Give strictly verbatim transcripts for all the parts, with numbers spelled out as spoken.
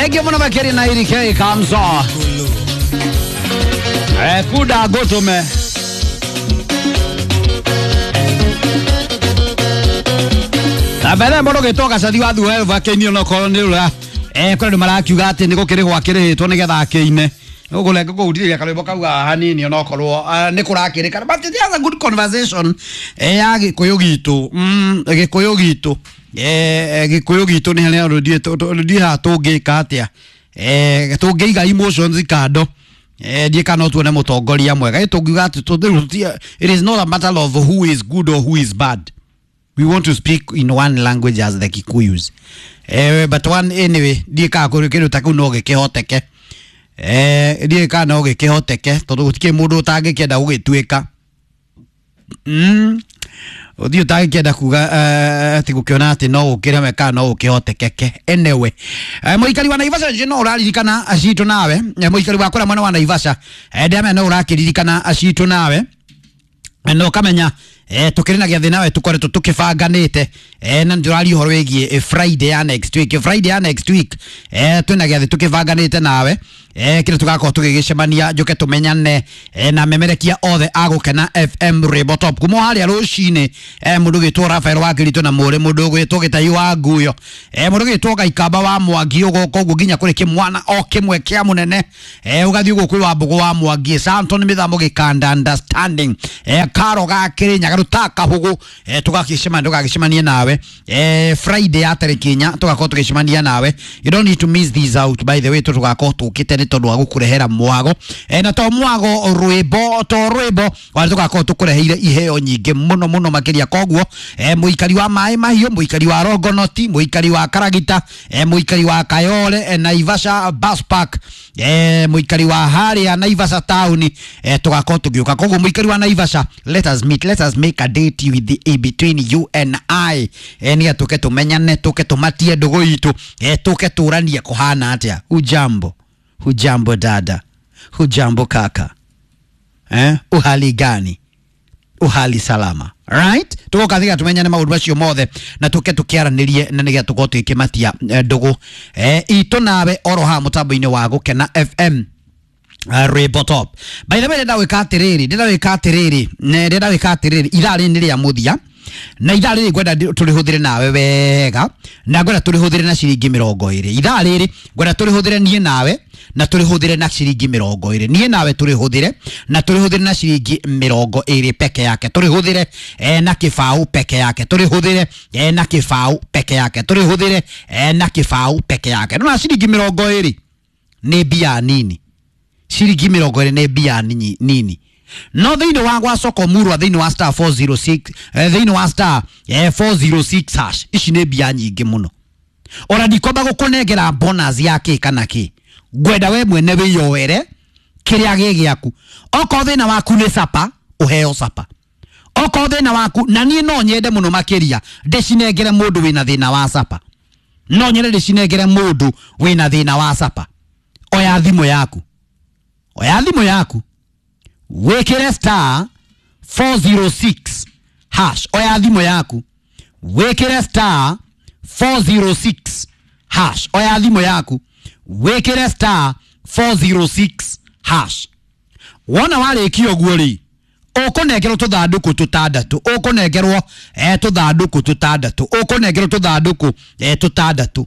Thank you muno makĩria na irike kamzo. Eh, kuda gotume. Na mbere mũndũ gĩtwo gacathi wa thuhe vakenio no korwo nĩ ũra eh kũrĩ andũ marakiuga atĩ nĩ gũkĩrĩhwo akĩrĩhĩtwo nĩgetha akĩine ũgũrenga kũhutithia karwĩmbo kau haha hanini onokorwo nĩ kũrakĩrĩkana, but it has a good conversation eh ya gĩkũyũ gitũ, mm gĩkũyũ gitũ, eh gĩkũyũ gitũ nĩ harĩa rũthiĩ rũthiĩ haha tũngĩka atĩa, eh tũngĩiga emotions kando, eh ndiĩ kana no tuone mũtongoria mwega. Ĩ tũngiuga atĩ it is not a matter of who is good or who is bad. We want to speak in one language as the Kikuyus. Eh, but one anyway, ndiĩ kana kũrĩ kĩndũ ta kĩu no gĩkĩhoteke. Eh, ndiĩ kana no gĩkĩhoteke tondũ gũtikĩrĩ mũndũ ũtangĩkĩenda gũgĩtuĩka. Mm. Ũthiĩ ũtangĩkĩenda kuga atĩ gũkĩona atĩ no gũkĩreme kana no gũkĩhotekeke. Anyway, eh, mũikari wa Naivasha nje no ũraririkana acitũ nawe. Eh, mũikari wa kũrĩa mwena wa Naivasha, eh, ndĩramenya no ũrakĩririkana acitũ nawe. No kamenya eh tukiri na gĩathĩ nawe tukoretwo tukibanganĩte, eh na ndĩraria ũhoro wĩgiĩ Friday ya next week, Friday ya next week, eh twĩna gĩathĩ tukibanganĩte nawe, eh kĩrĩa tũgakorwo tũgĩgĩcemania njũke tũmenyane, eh na memerekia othe a Gũkena F M Rwĩmbo Top kuma harĩa rũcinĩ, eh mũndũ ũgĩtwo Rafael wa Kĩritũ na mũrĩ mũndũ ũgwĩtwo Gĩtai wa Nguyo, eh mũndũ ũgĩtwo Gaikamba wa Mwangi ũgoka ũguo nginya kũrĩ kĩmwana o kĩmwe kĩa mũnene, eh ũgathiĩ ũguo kwĩ Wambũgũ wa Mwangi, Santon Mĩthamo Gĩkanda understanding, eh Karo ga Kĩrĩnyaga rutaka hugu, eh tugakicemania tugagicemania nawe, eh Friday ya tarĩki inya tugakorwo tugicemania nawe. You don't need to miss these out, by the way, tugakorwo tukite nĩ tondũ wa gũkũrehera mwago, eh na to mwago rwĩmbo to rwĩmbo wa tugakorwo tukureheire iheo nyingĩ mũno mũno makĩria. Koguo eh mũikari wa Maĩ Mahiũ, mũikari wa Rongonoti, mũikari wa Karagita, eh mũikari wa Kayole, eh, Naivasha bus park, eh mũikari wa harĩa Naivasha town, eh tugakorwo tũgĩũka. Koguo mũikari wa Naivasha, let us meet, let us make a date with the between you and I, eh ni tuke tumenyane, tuke tumatie ndũgũ itũ, eh tuke tũranie kũhana atĩa. Hujambo, hujambo dada, hujambo kaka, eh uhali gani, uhali salama, right? Tugoka thiga tumenyane maũndũ macio mothe na tuke tukiaranirie na nigetha tukorwo tũgĩkĩmatia ndũgũ eh itũ nawe oro haha mũtambo-inĩ wa Gũkena F M Rwĩmbo Top. By the way, ndĩrenda gwĩka atĩrĩrĩ, ndĩrenda gwĩka atĩrĩrĩ, ndĩrenda gwĩka atĩrĩrĩ, ithaa rĩrĩ nĩ rĩa mũthia na ithaa rĩrĩ ngwenda tũrĩhũthĩre nawe wega, na ngwenda tũrĩhũthĩre na ciringi mĩrongo ĩrĩ. Ithaa rĩrĩ ngwenda tũrĩhũthĩre niĩ nawe na tũrĩhũthĩre na ciringi mĩrongo ĩrĩ. Niĩ nawe tũrĩhũthĩre na tũrĩhũthĩre na ciringi mĩrongo ĩrĩ peke yake, tũrĩhũthĩre eh, na kĩbaũ peke yake, tũrĩhũthĩre eh, na kĩbaũ peke yake, tũrĩhũthĩre eh, na kĩbaũ peke yake. Nona ciringi mĩrongo ĩrĩ nĩ mbia nini, ciringi mĩrongo ĩrĩ nĩ mbia nini. No thĩinĩ wa gwa soko murwa, thĩinĩ wa star four zero six, eh, thĩinĩ wa star eh, four zero six hash, ici nĩ mbia nyingĩ mũno. Ona ndikwamba gũkũnengera bonus ya kĩ kana kĩ, ngwenda we mwene wĩyoere kĩrĩa gĩ gĩaku. Okorwo thĩna waku nĩ sapa, ũheo sapa. Okorwo thĩna waku, na niĩ no nyende mũno makĩria ndĩcinengere mũndũ wĩna thĩna wa sapa, no nyende ndĩcinengere mũndũ wĩna thĩna wa sapa. Oya thimũ yaku, oya thimũ yaku, wĩkĩre star four zero six hash. Oya thimũ yaku, wĩkĩre star four zero six hash. Oya thimũ yaku, wĩkĩre star four zero six hash. Wona warĩkia ũguo rĩ, ũkũnengerwo tũthandũkũ tũtandatũ, ũkũnengerwo eh tũthandũkũ tũtandatũ, ũkũnengerwo tũthandũkũ eh tũtandatũ.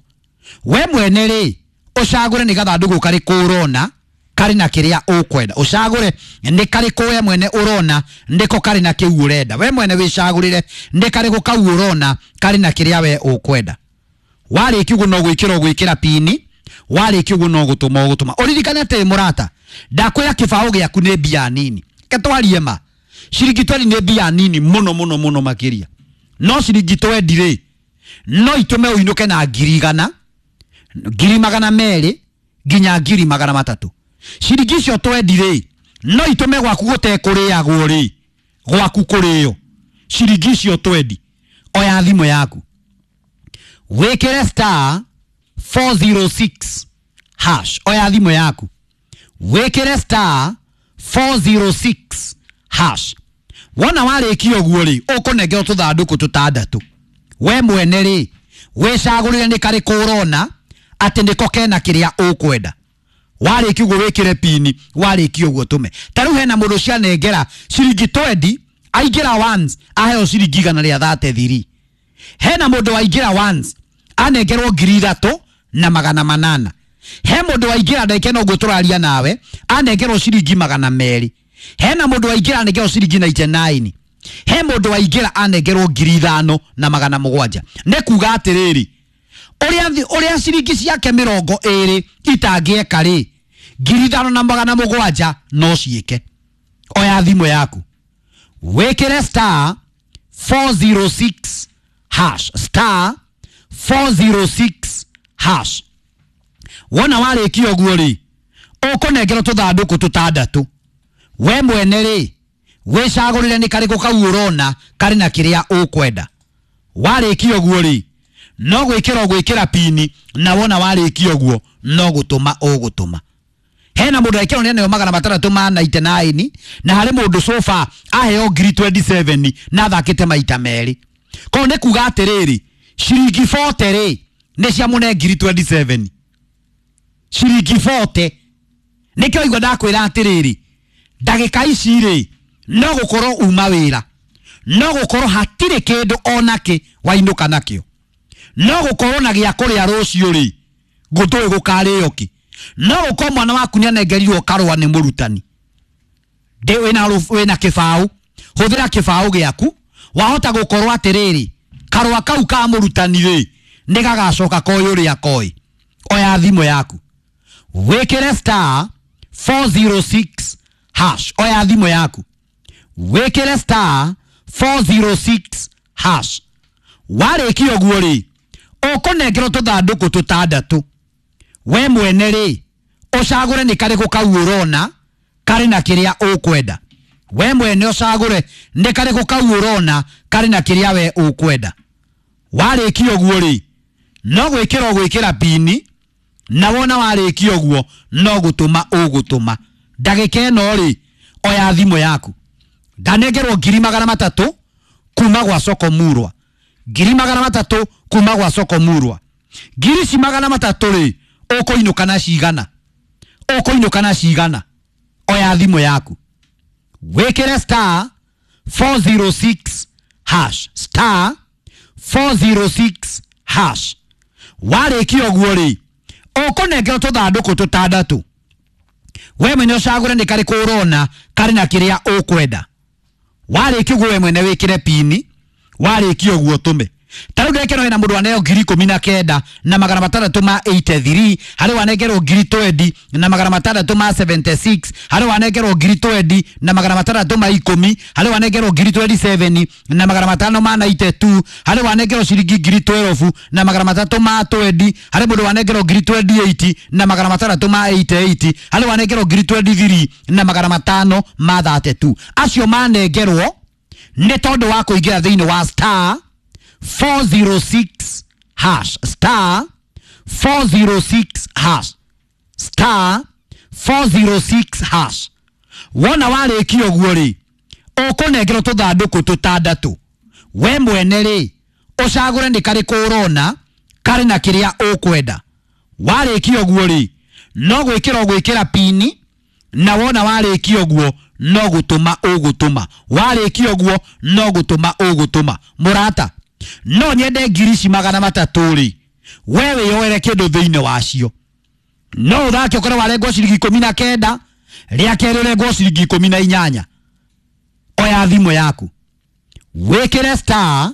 We mwene rĩ, ũcagũre nĩ gathandũkũ karĩkũ ũrona karĩ na kĩrĩa ũkwenda, ũcagũre nĩ karĩkũ we mwene ũrona nĩko karĩ na kĩu ũrenda. We mwene wĩcagũrĩre nĩ karĩkũ kau ũrona karĩ na kĩrĩa we ũkwenda. Warĩkia ũguo no gwĩkĩra ũgwĩkĩra pini, warĩkia ũguo no gũtũma ũgũtũma. Ũririkane atĩ mũrata, ndakwĩra kĩbaũ gĩaku nĩ mbia nini, reke twarie ma, ciringi twendi nĩ mbia nini mũno mũno mũno makĩria. No ciringi twendi rĩ, no itũme ũinũke na ngiri igana, ngiri magana merĩ nginya ngiri magana matatũ. Ciringi icio twendi rĩ, no itũme gwaku gũtekũrĩagwo rĩ, gwaku kũrĩo. Ciringi icio twendi, oya thimũ yaku, wĩkĩre star four zero six hash. Oya thimũ yaku, wĩkĩre star four zero six hash. Wona warĩkia ũguo rĩ, ũkũnengerwo tũthandũkũ tũtandatũ. We mwene rĩ, wĩcagũrĩre nĩ karĩkũ ũrona atĩ nĩko kena kĩrĩa ũkwenda. Warĩkia ũguo wĩkĩre pini, warĩkia ũguo tũme. Ta rĩu hena mũndũ cianengera ciringi twenty, aingĩra once aheo ciringi igana rĩa thate thiri. Hena mũndũ waingĩra once anengerwo ngiri ithatũ na magana manana. He mũndũ waingĩra ndagĩka ĩno ũguo tũraria nawe anengerwo ciringi magana merĩ. Hena mũndũ waingĩra anengerwo ciringi ninety nine. He mũndũ waingĩra anengerwo ngiri ithano na magana mũgwanja. Nĩ kuga atĩrĩrĩ, ũrĩa ũrĩa ciringi ciake mĩrongo ĩrĩ itangĩeka rĩ, ngiri ithano na magana mũgwanja no ciĩke. Oya thimũ yaku wĩkĩre star four zero six hash, star four zero six hash. Wona warĩkia ũguo rĩ, ũkũnengerwo tũthandũkũ tũtandatũ. We mwene rĩ, wĩcagũrĩre nĩ karĩkũ kau ũrona karĩ na kĩrĩa ũkwenda. Warĩkia ũguo rĩ, no gwĩkĩra ũgwĩkĩra pini, na wona warĩkia ũguo no gũtũma ũgũtũma. Hena mũndũ ekĩrwo nĩ aneo magana matandatũ ma ninety nine, na harĩ mũndũ sofa aheo ngiri twenty seven na athakĩte maita merĩ. Koguo nĩ kuga atĩrĩrĩ, ciringi forty rĩ nĩ ciamũne ngiri twenty seven. Ciringi forty. Nĩkĩo igua ndakwĩra atĩrĩrĩ, ndagĩka ici rĩ no gũkorwo uma wĩra, no gũkorwo hatirĩ kĩndũ onakĩ wainũka nakĩo, no gũkorwo na gĩa kũrĩa rũciũ rĩ gũtũĩ gũkarĩo kĩ, no gũkorwo mwana waku nĩanengerirwo karũa nĩ mũrutani. Ndĩ wĩna wĩna kĩbaũ, hũthĩra kĩbaũ gĩaku. Wahota gũkorwo atĩrĩrĩ, karũa kau ka mũrutani rĩ nĩ gagacoka koĩ ũrĩa koĩ. Oya thimũ yaku wĩkĩre star four zero six hash. Oya thimũ yaku wĩkĩre star four zero six hash. Warĩkia ũguo rĩ, ũkũnengerwo tũthandũkũ tũtandatũ. We mwene rĩ, ũcagũre nĩ karĩkũ kau ũrona karĩ na kĩrĩa ũkwenda. We mwene ũcagũre nĩ karĩkũ kau ũrona karĩ na kĩrĩa we ũkwenda. Warĩkia ũguo rĩ, no gwĩkĩra ũgwĩkĩra pini, na wona warĩkia ũguo no gũtũma ũgũtũma. Ndagĩka ĩno rĩ, oya thimũ yaku. Ndanengerwo ngiri magana matatũ kuma gwa Soko Murwa. Ngiri magana matatũ kuma gwa Soko Murwa. Ngiri ici magana matatũ rĩ, ũkũinũka na cigana? Ũkũinũka na cigana? Oya thimũ yaku wĩkĩre star four zero six hash, star four zero six hash. Warĩkia ũguo rĩ, ũkũnengerwo tũthandũkũ tũtandatũ. We mwene ũcagũre nĩ karĩkũ ũrona karĩ na kĩrĩa ũkwenda. Warĩkia ũguo we mwene wĩkĩre pini, warĩkia ũguo tũme. Ta rĩu ndekĩrwo hena mũndũ aneo ngiri ikũmi na kenda na magana matandatũ ma eighty three, harĩ wanengerwo ngiri twenty na magana matandatũ ma seventy six, harĩ wanengerwo ngiri twenty na magana matandatũ ma ikũmi, harĩ wanengerwo ngiri twenty seven na magana matano ma ninety two, harĩ wanengerwo ciringi ngiri twelve na magana matatũ ma twenty, harĩ mũndũ wanengerwo ngiri twenty eight na magana matandatũ ma eighty eight, harĩ wanengerwo ngiri twenty three na magana matano ma thirty two. Acio manengerwo nĩ tondũ wa kũingĩra thĩinĩ wa star four zero six hash, star four zero six hash, star four zero six hash. Wona warĩkia ũguo rĩ, ũkũnengerwo tũthandũkũ tũtandatũ. We mwene rĩ, ũcagũre nĩ karĩkũ ũrona karĩ na kĩrĩa ũkwenda. Warĩkia ũguo rĩ, no gwĩkĩra ũgwĩkĩra pini, na wona warĩkia ũguo no gũtũma ũgũtũma. Warĩkia ũguo no gũtũma ũgũtũma. Mũrata, no nyende ngiri ici magana matatũ rĩ, we wĩyoere kĩndũ thĩinĩ wacio. No ũthake ũkorwo warengwo ciringi ikũmi na kenda, rĩa kerĩ ũrengwo ciringi ikũmi na inyanya. Oya thimũ yaku wĩkĩre star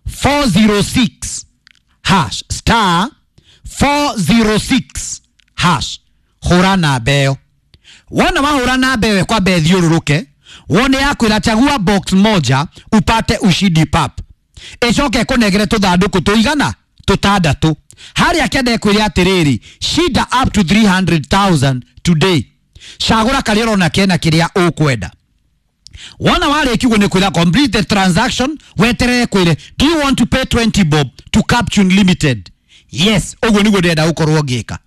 four zero six hash, star four zero six hash. Hũra namba ĩyo. Wona wahũra namba ĩyo ĩkwambe ĩthiũrũrũke, wone yakwĩra chagua box moja upate ushindi pap. Ĩcoke ĩkũnengere tũthandũkũ tũigana tũtandatũ. Harĩa kĩanda ĩkwĩre atĩrĩrĩ, shinda up to three hundred thousand today. Cagũra karĩa ũrona kena kĩrĩa ũkwenda. Wona warĩkia ũguo nĩ kwĩra complete the transaction, weterere kwĩre do you want to pay twenty bob to Captune Limited? Yes, ũguo nĩguo ndĩrenda gũkorwo ngĩka.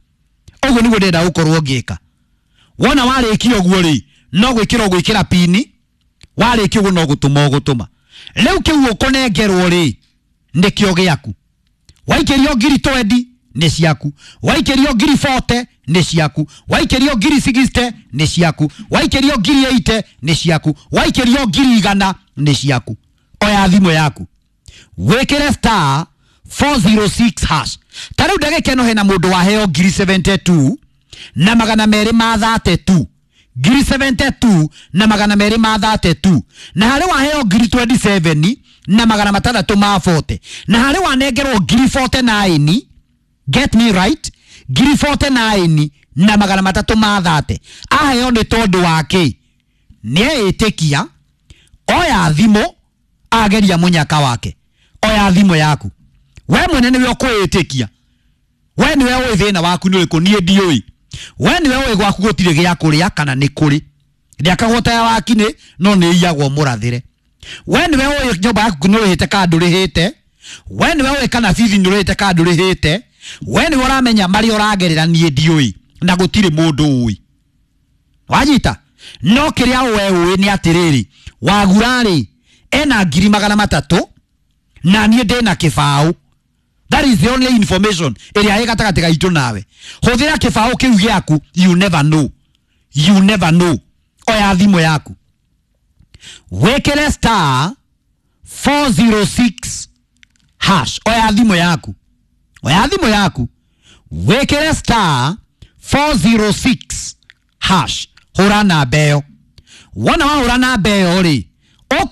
Ũguo nĩguo ndĩrenda gũkorwo ngĩka. Wona warĩkia ũguo rĩ, no gwĩkĩra ũgwĩkĩra pini, warĩkia ũguo no gũtũma ũgũtũma. Rĩu kĩu ũkũnengerwo rĩ, nĩkĩo gĩaku. Waikĩrio ngiri twenty nĩ ciaku, waikĩrio ngiri mĩrongo ĩnana nĩ ciaku, waikĩrio ngiri mĩrongo ĩnana nĩ ciaku, waikĩrio ngiri mĩrongo ĩnane nĩ ciaku, waikĩrio ngiri igana nĩ ciaku. Oya thimũ yaku wĩkĩre star four oh six hash. Ta rĩu ndagĩka ĩno hena mũndũ waheo ngiri mĩrongo mũgwanja na igĩrĩ na magana merĩ ma mĩrongo ĩtatũ, ngiri mĩrongo mũgwanja na igĩrĩ na magana merĩ ma mĩrongo ĩtatũ, na harĩ waheo ngiri mĩrongo ĩĩrĩ na igĩrĩ na magana matandatũ ma mĩrongo ĩna, na harĩ wanengerwo ngiri mĩrongo ĩna na inyanya. Get me right, ngiri mĩrongo ĩna na inyanya na magana matatũ ma mĩrongo ĩtatũ aheo nĩ tondũ wa kĩ? Nĩ eĩtĩkia. Oya thimũ, ageria mũnyaka wake. Oya thimũ yaku, we mwene nĩwe ũkwĩĩtĩkia, we nĩwe ũĩ thĩna waku nĩ ũrĩkũ, niĩ ndiũĩ. We nĩwe ũĩ gwaku gũtirĩ gĩa kũrĩa kana nĩ kũrĩ, ndĩakagwo ta ya wakinĩ no nĩ iyagwo mũrathĩre. We nĩwe ũĩ nyũmba yaku nĩ ũrĩhĩte kana ndũrĩhĩte. We nĩwe ũĩ kana bithi nĩ ũrĩhĩte kana ndũrĩhĩte. We nĩwe ũramenya marĩa ũragerera, niĩ ndiũĩ na gũtirĩ mũndũ ũĩ. Wanyita? No kĩrĩa we ũĩ nĩ atĩrĩrĩ, wagura-rĩ ena ngiri magana matatũ na niĩ ndĩna kĩbaũ. That is the only information ĩrĩa ĩ gatagatĩ gaitũ nawe. Hũthĩra kĩbaũ kĩu gĩaku, you never know, you never know. Oya thimũ yaku wĩkĩre star four oh six hash. Oya thimũ yaku, oya thimũ yaku wĩkĩre star four oh six hash. Hũra namba ĩyo. Wona wahũra namba ĩyo rĩ, ũkuona.